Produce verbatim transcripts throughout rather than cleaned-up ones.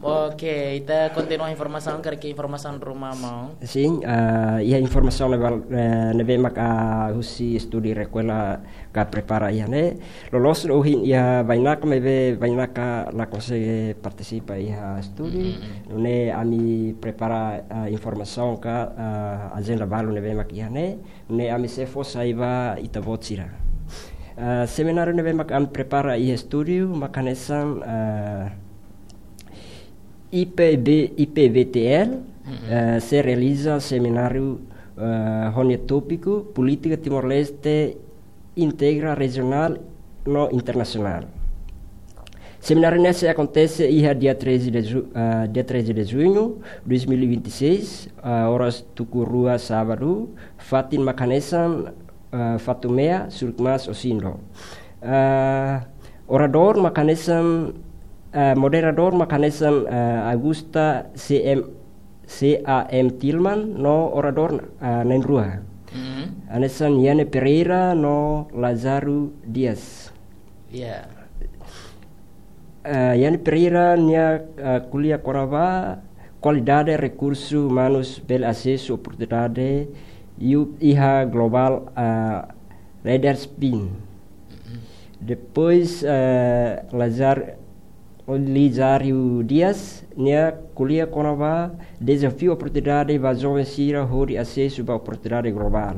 Oke, ita kontinua informasaun, karik informasaun ruma, maun. Sin, ah, iha informasaun ne'ebé, eh, ne'ebé maka husi estúdiu Rekuela ka prepara iha ne'e. Loloos ohin iha bainaka maibé bainaka la konsege partisipa iha estúdiu. Mm, mm, mm. Nune'e ami prepara, ah, informasaun ka, ah, ajenda balu ne'ebé maka iha ne'e. Nune'e ami sei fó sai ba ita-boot sira. Ah, semináriu ne'ebé maka ami prepara iha estúdiu maka hanesan, ah, I P B, I P B T L, mm-mm, eh, sei realiza semináriu, eh, ho nia tópiku Polítika Timor-Leste Integra Rejionál no Internasionál. Semináriu ne'e sei akontese iha dia treze de ju-, eh, dia treze de junho dois mil e vinte e seis, eh, oras tuku rua sábadu, fatin maka hanesan, eh, Fatumea, Surukmaas, Osin-Dor. Eh, oradór maka hanesan, eh, moderadór maka hanesan, eh, Augusta C M, C A M Tilman no oradór, eh, na'in-rua. Mm. Hanesan Yane Pereira no Lázaro Dias. Ya. Eh, Yane Pereira nia, eh, ko'alia kona-ba kualidade rekursu umanus bele asesu oportunidade iha, iha globál, eh, Leadership. Mm-mm. Depois, eh, Lazar-, Lizário Dias nia ko'alia kona-ba dezafiu oportunidade ba joven sira hodi asesu ba oportunidade globál.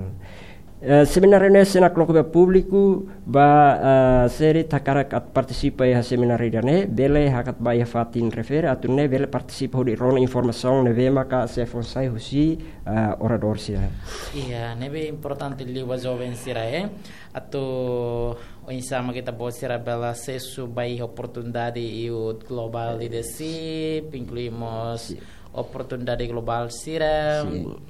Eh, semináriu ne'e sei nakloke ba públiku, ba, eh, sira hakarak atu partisipa iha semináriu ida-ne'e, bele hakat ba iha fatin refere, atu nune'e bele partisipa hodi rona informasaun ne'ebé maka sei fó sai husi, eh, oradór sira. Iya, ne'ebé importante liu ba joven sira, eh. Atu oinsá mak ita-boot sira bele asesu ba iha oportunidade iha globál leadership, inklui mós, sin, oportunidade globál sira. Sin.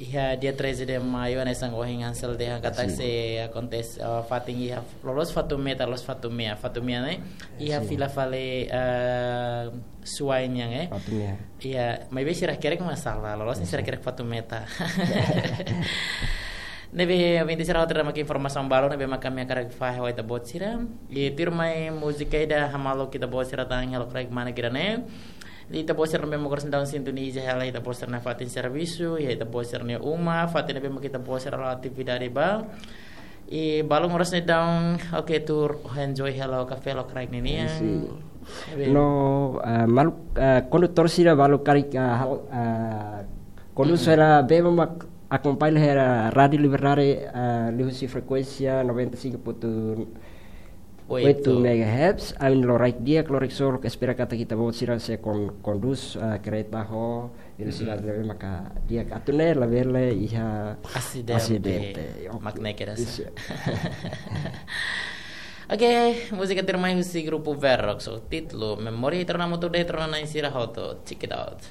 Iha dia treze de maio, hanesan ohin Hansel dehan katak, sin, sei akontese, eh, fatin iha loloos Fatumeta, loloos Fatumea, Fatumea ne'e iha, sin, fila fali, eh, Suai nian, eh. Fatumea. Iya, maibé sira hakerek mak sala, loloos, sin, sira hakerek Fatumeta. Ne'ebé, ouvinte sira, hotu ida-ne'e mak informasaun balu ne'ebé maka ami hakarak fahe ho ita-boot sira. I tuirmai múzika ida hamaluk ita-boot sira tan halo karik mana kira ne'e. Ita-boot sira ne'ebé maka oras ne'e daudaun sintoniza hela ita-boot sira-nia fatin servisu, iha ita-boot sira-nia uma, fatin ne'ebé maka ita-boot sira halo atividade ba. I balun oras ne'e daudaun, oke, tuur enjoy hela kafé lokraik ninian. Sin. Ne'ebé. No, eh, maluk, eh, kondutór sira balu karik, eh, hal, eh, kondús, mm-mm, hela bele mak akompaña hela Rádio Liberdade, eh, liuhusi frekuénsia noventa e cinco ponto oito, oito megahertz, ami lokraik di'ak, lokraik solok, espera katak ita-boot sira sei kon-, kondús, eh, kareta ho velosidade, mm-mm, ne'ebé maka di'ak, atu nune'e labele iha asidente. Asidente. Oke. Mak ne'e kedas. Isu. Oke, múzika tuirmai husi grupu Verox, ho títulu Memória, ita rona hamutuk de'it, ita rona na'in sira hotu. Check it out.